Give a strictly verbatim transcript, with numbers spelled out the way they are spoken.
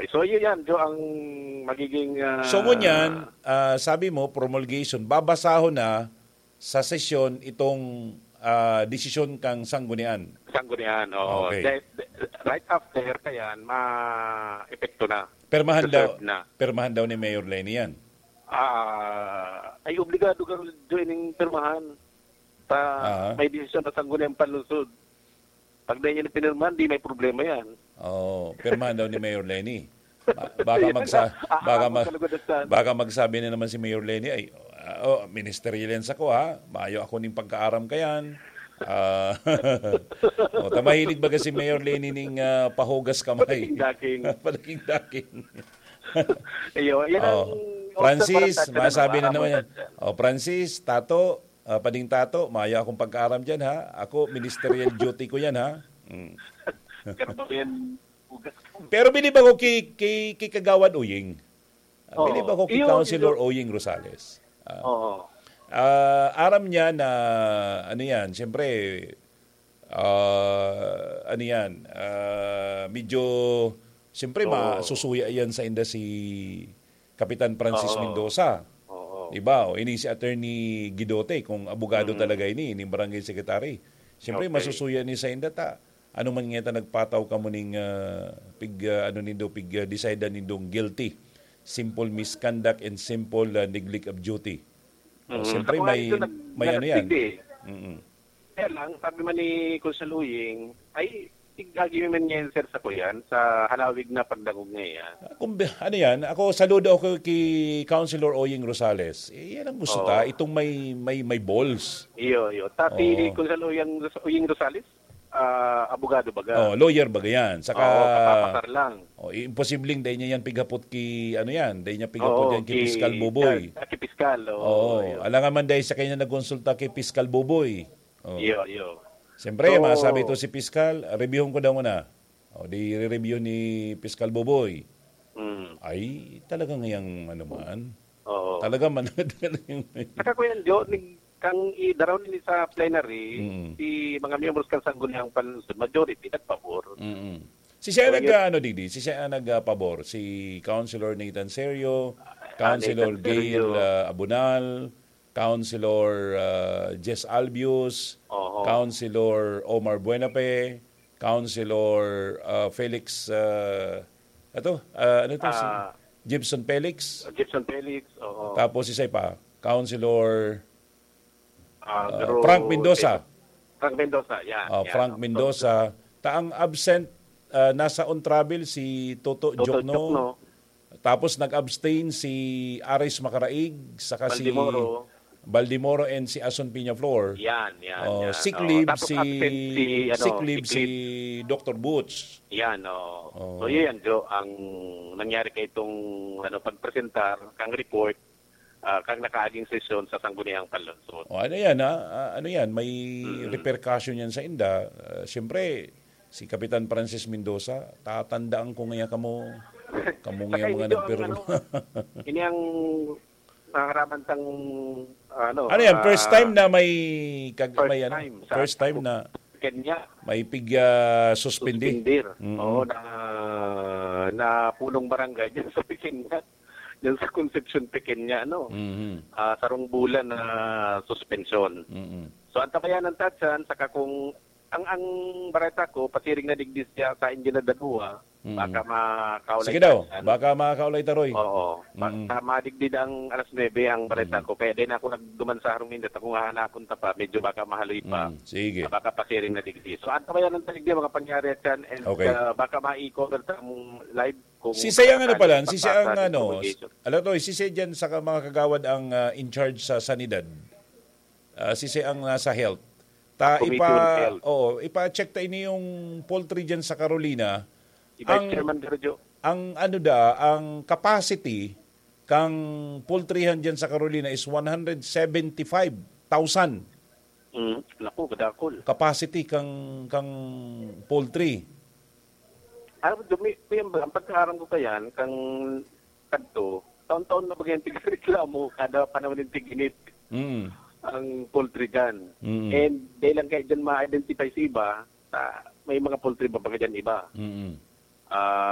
So, yun yan, Jo, ang magiging, ah, So, ngunyan, ah, sabi mo, promulgation, babasahon na sa sesyon itong, ah, desisyon kang sanggunian. Sanggunian, oo. Okay. De-, de-, right after, kayan, ma-epekto na. Permahan daw, Reserve na. permahan daw ni Mayor Leni yan. Ah, ay, obligado ka rin, Jo, ining pirmahan. Pa, Aha. may desisyon na sangguniang panlungsod. Pag di niya na pinirmahan, di may problema yan. Oo, pirmahan daw ni Mayor Leni. Ba-, baka Ayan magsa-, na. baka Aabot mag-, ka lugod sa baka magsabi na naman si Mayor Leni, "Ay, ah, oh, ministerial yan sa ko, ha? Mayo ako ning pagkaaram kayan." Ah, oh, ta mahilig baga si Mayor Leni ning, ah, pahugas kamay. Padaking-daking. Padaking-daking. Iyo, yan ang Oh. Francis, obserbahan natin, ano, masabi na naman yan. aabot natin. Oh, Francis, Tato, ah, Pading Tato, mayo akong pagkaaram dyan, ha? Ako, ministerial duty ko yan, ha? Mm. Pero ba yan, hugas ko? Pero bilib ako kay, kay, kay Kagawad Uying. Ah, Oo. bilib ako kay Iyo, Councilor iyo. Oying Rosales. Ah, Oo. ah, aram niya na, ano yan, siyempre, ah, ano yan, ah, medyo, siyempre, Oo. masusuya yan sa inda si Kapitan Francis Oo. Mendoza. Oo. Diba? O, ini si Attorney Guidote, kung abogado Mm. talaga ini, ini barangay secretary. Siyempre, Okay. masusuya ni sa inda ta. Ano man nga ta nagpataw kamo ning, ah, pig, ah, ano nindo, pig, ah, decide nindong guilty. Simple misconduct and simple, ah, neglect of duty. Mm. Siyempre, Ako nga may, ito nag-, may ano yan. nagpigil eh. Mm-mm. Kaya lang, sabi man ni Consul Uying, ay, tig-, agi man ngayon, sir, sa kuyan, sa halawig na pagdangog niya yan. Ah, kung bi-, ano yan, ako, saludo ako kay Councilor Oying Rosales. Eh, yan ang gusto Oo. ta, itong may, may, may balls. Iyo, iyo. Ta si Oo. Consul Uying, Uying Rosales, ah, abogado baga. Oh, lawyer baga yan. Saka, Oo, kapapasar lang. Oh, imposibleng dai niya yan pighapot ki, ano yan, dai niya pighapot Oo, yan ki ki, Piskal Boboy. ah, ki Piskal, oo, Oo, yun. alangan man dai siya kayo na nagkonsulta kay Piskal Boboy. Oh. Iyo, iyo. Siyempre, So, masabi to si Piskal, reviewon ko daw muna. O, di re-review ni Piskal Boboy. Mm. Ay, talaga ngayang ano man. Oo. Talaga man. Saka, Kuya Joe, ni-, kang idaraw nini sa plenary, Mm. si mga miyembros kan Sangguniang Panlungsod, majority, nagpabor. Mm. Si siya So, nag, yun. ano, digdi? Si siya ang nag, ah, pabor? Si Councilor Nathan Serio, Ah, Councilor Nathan Gail, Serio. ah, Abunal, Councilor, ah, Jess Albius, Oho. Councilor Omar Buenape, Councilor, ah, Felix, ah, ato, ah, ano to? Si Ah. Gibson Felix. Gibson Felix, oo. Tapos isa pa, Councilor, Ah, ah, pero Frank Mendoza. Frank Mendoza, yeah, Oh, yeah, Frank no? Mendoza. Ta ang absent, ah, nasa on travel si Toto Toto Jokno. Jokno. Tapos nag-abstain si Aris Macaraig, saka si Baldemoro. Baldemoro and si Ason Peñaflor. Yan, yan, Oh, yan. sick Oh, leave tapos si, absent si, ano, sick leave sick si leave. Doctor Boots. Yan, oh. Oh. So, yun yan, Joe, ang nangyari kay itong, ano, pagpresentar kang report, ah, kang nakaaging sesyon sa Sangguniang Panlungsod. Oh, ano yan, ha? Ah, ano yan? May Mm. repercussion yan sa inda. Ah, siyempre, si Kapitan Francis Mendoza, tatandaan ko ngaya kamo, kamo Saka ngaya mga ito ang nagpirma. ano, ini ang nangaraman tang, ano, Ano yan? First ah, time na may kag-, first may ano? time sa First time na Kenya. may pig, ah, suspindi. Suspindir. Mm. Oo, na, na punong barangay dyan sa Pequeña. Dyan sa Concepcion Pequeña, ano? Mhm. Ah, sarong bulan na suspensyon. Mm. So, antabayanan ta dyan, saka kung ang, ang bareta ko, pasiring na digdi siya sa Indian na Dagua, Mm. baka makaulay Sige daw, tayo dyan. baka makaulay ta, Roy. Oo. Mm. Baka madigdi ang alas nuebe ang bareta Mm. ko. Kaya din ako nagduman sa harong nindot. Kung hahanapon ta pa, medyo baka mahaloy pa. Mm, sige. Ah, baka pasiring na digdi. So, antabayanan ta digdi mga pangyari dyan. And, Okay. ah, baka ma-cover ta ang live kung Si Sayang ano sakali pala, si Sayang pagpasa ng ano, promulgation. Alam to, si Say dyan sa ka-, mga kagawad ang, ah, in charge sa sanidad. Ah, si Say ang nasa health. Ta, Committee on ipa-, Health. oo, ipa-check ta ini yung poultry dyan sa Carolina. Si Vice Ang, Chairman Sergio. ang ano da, ang capacity kang poultryhan dyan sa Carolina is one hundred seventy-five thousand. Mm, naku, kadakol. Capacity kang, kang poultry. Alam mo, Dumi-, Kuya Bal, ang pagkaaram ko kayan, kang kadto, taon-taon na ba yan tigreklamo kada panahon ng tig-init Mm. ang poultry dyan? Mm. And dahil lang kayo dyan ma-identify sa iba, sa, may mga poultry ba baga dyan iba? Mm. Ah,